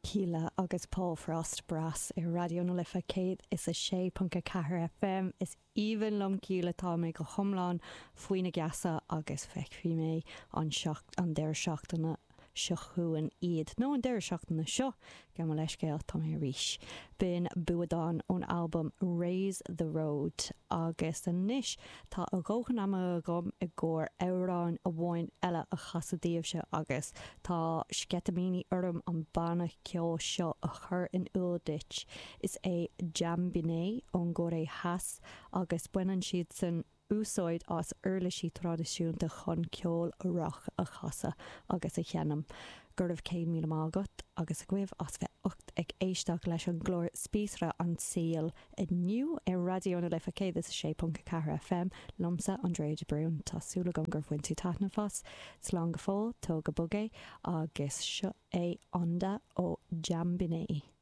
Kíla agus Paul Frost Brass ar Raidió na Life 106.4 FM. Is aoibhinn liom Kíla, tá mé go hiomlán faoina geasa agus feicfidh mé an an deireadh seachtaine seo chugainn iad, nó an deireadh seachtaine seo, gabh mo leithscéal, tá mé arís. B'in Buadán ón albam Raise the Road agus anois tá a dhóthain ama agam i gcomhair amhrán amháin eile a chasadh daoibhse agus tá sceitimíní orm an banna ceoil seo a chur in iúl duit. Is é Jambiné ón gCóiré Theas agus baineann siadsan úsáid as uirlisí traidisiúnta chun ceol rac a chasadh agus a sheinm. Go raibh 100,000 maith agat agus agaibh as bheith ucht ag éisteacht leis an gclár Spíosra an tSaoil inniu ar Raidió na Life 106.4 FM, liomsa, Andrea de Brún. Tá súil agam gur bhain tú taitneamh as. Slán go fóill, tóg go bog é, agus seo é Onda ó Jambiné.